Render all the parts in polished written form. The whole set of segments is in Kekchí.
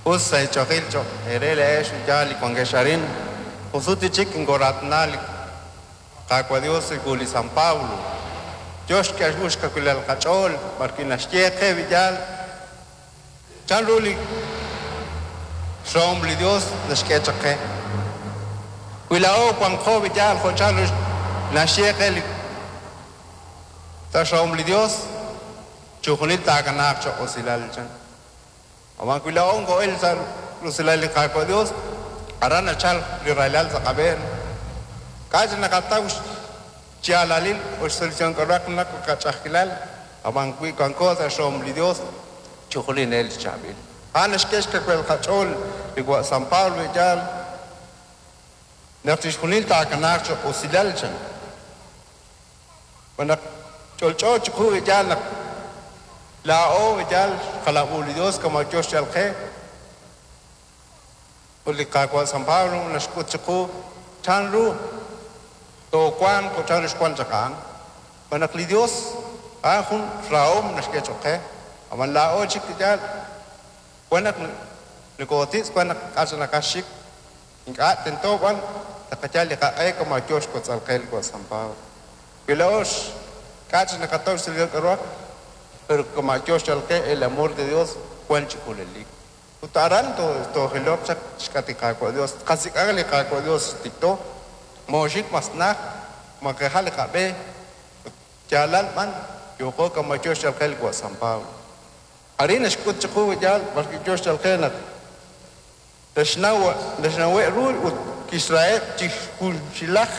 Us sa' eech'oqil cho'q eere laa'ex yaal li wankex arin. Jusut chik nkoraatna li Qaawa' Dios li li San Pablo. Yo xk'e xkawilal qach'ool b'arwi' naxye qe yaal chanru li xrahom li Dios naxk'e chaq qe. Wi laa'o wanqo yaal jo' chanru naxye qe li sa' xrahom li Dios chujunil taakanaaq cho'q usilal chan. Aman wi laa'o nko'el sa' rusilal li Qaawa' Dios aran nachal li rahilal sa' qab'een. K'a'ch naqataw xyaalalil o xsolución k'aruhaq naq qach'a'ajkilal ab'an wi wanko sa' xrahom li Dios chujunil nel xchaab'il. A'an naxk'e xkawil qach'ool li wa' San Pablo yaal naq chixjunil taakanaaq cho'q usilal chan. Naq ch'olch'o chiqu yaal naq laa'o yaal xqalab'u li Dios kama yo xyal qe ut li Qaawa' San Pablo naxk'ut chiqu chanru toowanq ut chanru xwank chaq a'an. Naq li Dios a'an jun rahom naxk'e cho'q qe ab'an laa'o chik yaal wan naq nokotitz' wan naq k'a'ch naqaxik ink'a' tento b'an taqayal li qaq'e kama yo xkotz'al qe li wa' San Pablo. Wi laa'o k'a'ch naqataw xsolución k'aruhaq pero kama yo xyal qe el amor de Dios wan chi junelik. Ut aran toojiloq chaq xk'at li Qaawa' Dios qasik'aq li Qaawa' Dios tikto mooxik mas naj maqejal li qab'e yaalal b'an yooqo kama yo xyal qe li wa' San Pablo. Arin naxk'ut chiqu yaal b'arwi' yo xyal qe naq naxnawe' ru ut kixraheb' chi junxilaj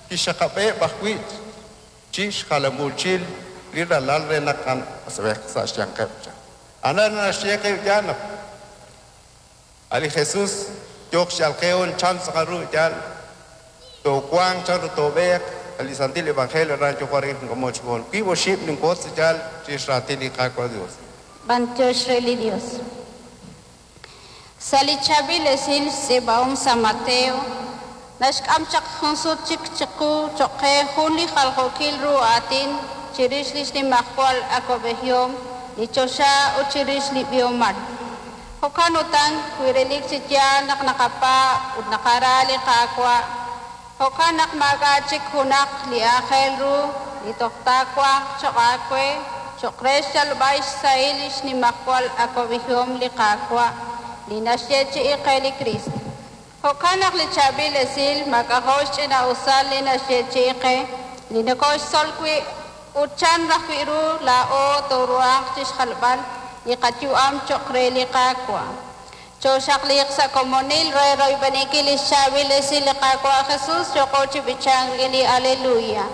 kixxaqab'eb' ajwi' chi xjalamuuchil li ralal re naq asb'ej sa' xyanqeb' chan. Anan naxye qe yaal naq ali Jesús yooq xyal qe on chan tz'aqal ru yaal toowanq chanru toob'eeq ali Santil Evangelio ran yo'q arin nk'amoch goon wiib' oxib' ninkotz yaal chi xraatin li Qaawa' Dios. B'antiox re li Dios. Sa' li chaab'il esil xtz'iib'ahom San Mateo, naxk'am chaq jun sut chik chiqu cho'q qe jun li jaljookil ru aatin chirix li xnimajwal awab'ejihom li choxa ut chirix li b'ihomal. Jo'kan utan wi relik chi yaal naq naqapaab' ut naqara li Qaawa', jo'kan naq maak'a' chik junaq li aajel ru li toj taawanq cho'q aawe cho'q re xyalb'al xsahil li xnimajwal awab'ejihom li Qaawa' li naxyeechi'i qe li Cristo. Jo'kan naq li chaab'il esil maak'a'jo' xch'ina'usal li naxyeechi'i qe li nokoxtzol wi' ut chan rajwi' ru laa'o tooruhanq chixjalb'al li qayu'am cho'q re li Qaawa'. Chooxaqliiq sa' komonil re royb'eninkil li xchaab'il esil li Qaawa' Jesus yooqo chi b'ichank rik'in li Aleluya.